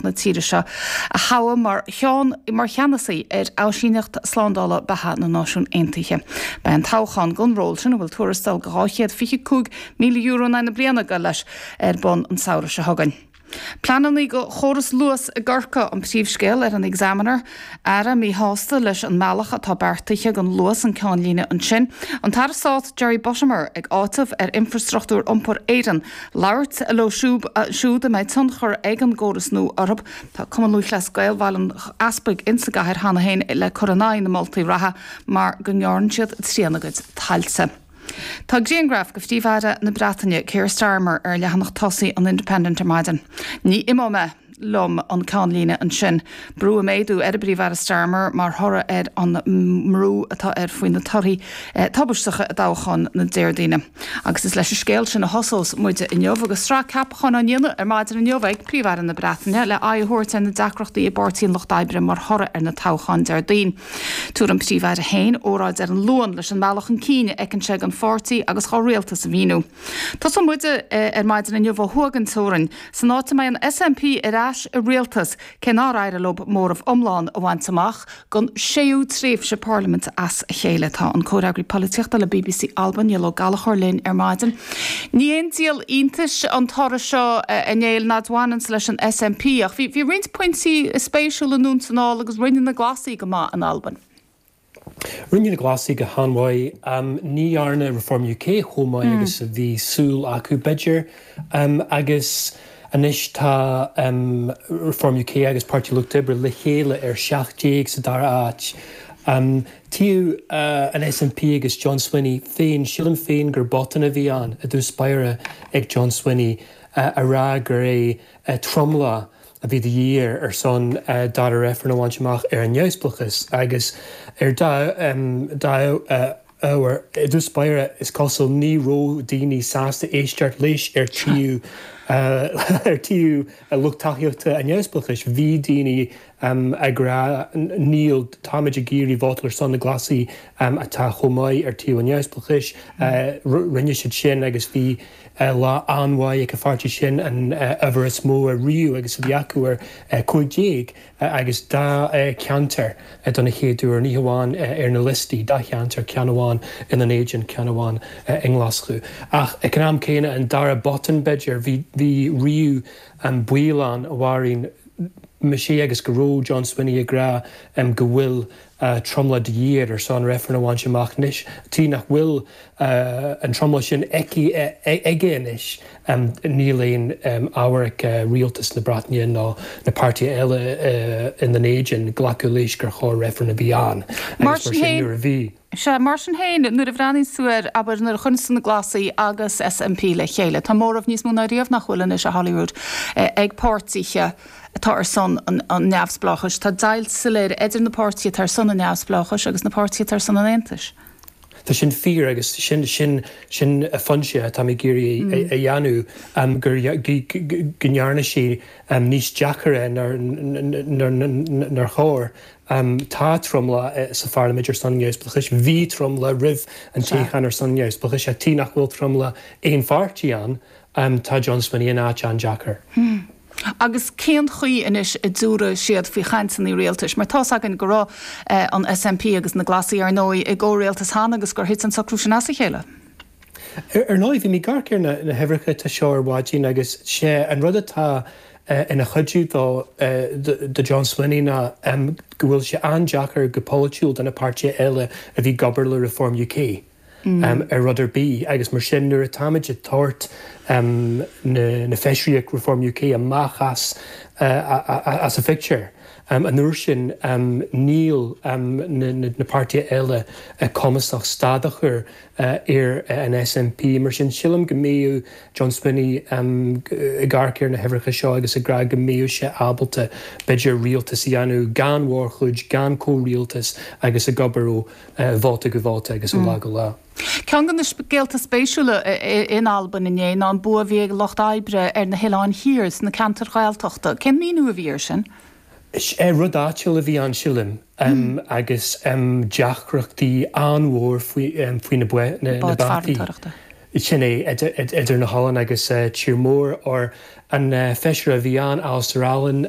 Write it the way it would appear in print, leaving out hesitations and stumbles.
Na tíre seo a thoghadh mar cheann mar cheannasaí ar Áisíneacht Slándála Beatha na Náisiún Aontaithe. Beidh an toghchán don ról sin, a bhfuil tuarastal de €225,000 in aghaidh na bliana ag dul leis, ar bun an samhradh seo chugainn. Pleananna do chóras Luas i gCorcaigh an príomhscéal ar an Examiner. Aire míshásta leis an mbealach atá beartaithe don Luas an ceannlíne ansin. An tAire Stáit Jerry Buttimer ag áiteamh ar Infrastruchtúr Iompair Éireann labhairt leo siúd a mbeidh tionchar ag an gcóras nua orthu. Tá Cumann Lúthchleas Gael Bhaile an Easpaig insa gcathair cheana féin le cur in aghaidh na moltaí reatha mar go ngearrann siad trian a gcuid tailte. Tá grianghraf de Phríomh-Aire na Breataine, Keir Starmer, ar leathanach tosaigh an Independent ar maidin. Ní imeoidh mé liom an ceannlíne ansin. Brú ag méadú ar an bPríomh-Aire Starmer mar thoradh ar an mbrú atá air faoi na torthaí tubaisteacha i dtoghchán na Déardaoine. Agus is leis an scéal sin a thosós muide inniu agus sraith ceapachán á ndéanamh ar maidin inniu ag Príomh-Aire na Breataine le aghaidh a thabhairt ar na deacrachtaí i bPáirtí an Lucht Oibre mar thoradh ar na toghcháin Déardaoin. Tabharfaidh an Príomh-Aire féin óráid ar an Luan leis an mbealach chun cinn a fheiceann sé don pháirtí agus dhá rialtas a mhíniú. Tosóidh muide ar maidin inniu ó thuaidh den teorainn, san áit a mbeidh an SNP ar ais i rialtas, cé nár éirigh leo móramh iomlán a bhaint amach don séú tréimhse parlaiminte as a chéile. Tá an comhfhreagraí polaitíochta le bbc Alba, Niall Ó Gallchóir linn ar maidin. Ní haon díol iontais an toradh seo, a Néill, ná a bhaineanns leis an SNP, ach bhí roinnt pointí spéisiúla anonn 's anall agus rinne na Glasaigh go maith in Albain. Rinne na Glasaigh go han-mhaith. Ní dhearna Reform UK chomh maith agus a bhí súil acu, b'fhéidir. Agus anois tá Reform UK agus Páirtí Lucht Oibre le chéile ar 17 sa dara háit. Taobh an SNP agus John Swinney féin, sílim féin gur botún a bhí ann i dtús báire ag John Swinney a rá gur é tromlach a bhí de dhíth air ar son dara reifreann a bhaint amach ar an neamhspleáchas agus ar dá ábhar, i dtús báire, is cosúil, ní raibh daoine sásta éisteacht leis ar taobh ar taobh lucht tacaíochta an neamhspleáchais. Bhí daoine ag rá níl, táimid ag iarraidh vótáil ar son na Glasaigh atá chomh maith ar taobh an neamhspleáchais. Rinne siad sin agus bhí lá an-mhaith ag an pháirtí sin, an uimhir is mó ariamh agus a bhí acu ar 15 agus dá cheantar don chéad uair, ní hamháin ar na liostaí, dá cheantar, ceann amháin i nDún Éideann, ceann amháin i nGlaschú. Ach ag an am céanna, an dara botún b'fhéidir, bhí bhí riamh an baol ann, a Mháirín, mise agus go raibh John Swinney ag rá go bhfuil tromlach de dhíth air ar son reifreann a bhaint amach anois. Tuige nach bhfuil an tromlach sin aici, aige anois, níl aon ábhar ag rialtas na Breataine ná na páirtithe eile i nDún Éideann glacadh leis gur chóir reifreann a bhí ann agus mar sin nuair a bhí. Sea, mar sin féin, nuair a bhreathnaíonns tú air, abair, nuair a chuireanns tú na Glasaigh agus SNP le chéile, tá móramh níos mó ná riamh nach bhfuil anois, a Holyrood, ag páirtithe atá ar son an neamhspleáchais. Tá deighilt soiléir idir na páirtithe atá ar son an neamhspleáchais agus na páirtithe atá ar son an aontais. Tá sin fíor agus sin, sin, sin an pointe atá mé ag iarraidh a dhéanamh, gur, go ndearna sé níos deacaire nár chóir. Tá tromlach sa pharlaimint ar son an neamhspleáchais. Bhí tromlach roimh an toghchán ar son an neamhspleáchais. Ach tuige nach bhfuil tromlach aon pháirtí ann, tá John Swinney in áit an-deacair. Agus cén chaoi anois a dtabharfaidh siad faoi chainteanna rialtais? Mar tá's againn go raibh an SNP agus na Glasaigh, ar ndóigh, i gcomhrialtas cheana agus gur thit an socrú sin as a chéile. Ar ndóigh, bhí mé ag amharc ar na huimhreacha atá seo ar maidin agus sé an rud atá ina chuidiú dó, do John Swinney ná go bhfuil sé an-deacair go polaitiúil do na páirtithe eile a bhí ag obair le Reform UK ar rud ar bith agus mar sin nuair atáimid ag tabhairt na feisirí ag Reform UK amach as as an phictiúr an uair sin níl na páirtithe eile cumasach stad a chur ar an SNP. Mar sin, sílim go mbeadh John Swinney ag amharc ar na huimhreacha seo agus ag rá go mbeadh sé ábalta, b'fhéidir, rialtas a dhéanamh gan mhórchuid, gan comhrialtas agus ag obair ó vóta go vóta agus ó lá go lá. Ceann de na scéalta spéisiúla in Albain inné ná an bua a bhí ag Lucht Oibre ar na hOileáin Thiar sna ceantair Ghaeltachta. Cén míniú a bhí air sin? Rud áitiúil a bhí ann, sílim, agus deacrachtaí an-mhór faoi na báid. Sin é, idir na hoileáin agus tír mór, or an feisire a bhí ann, Alasdair Allan.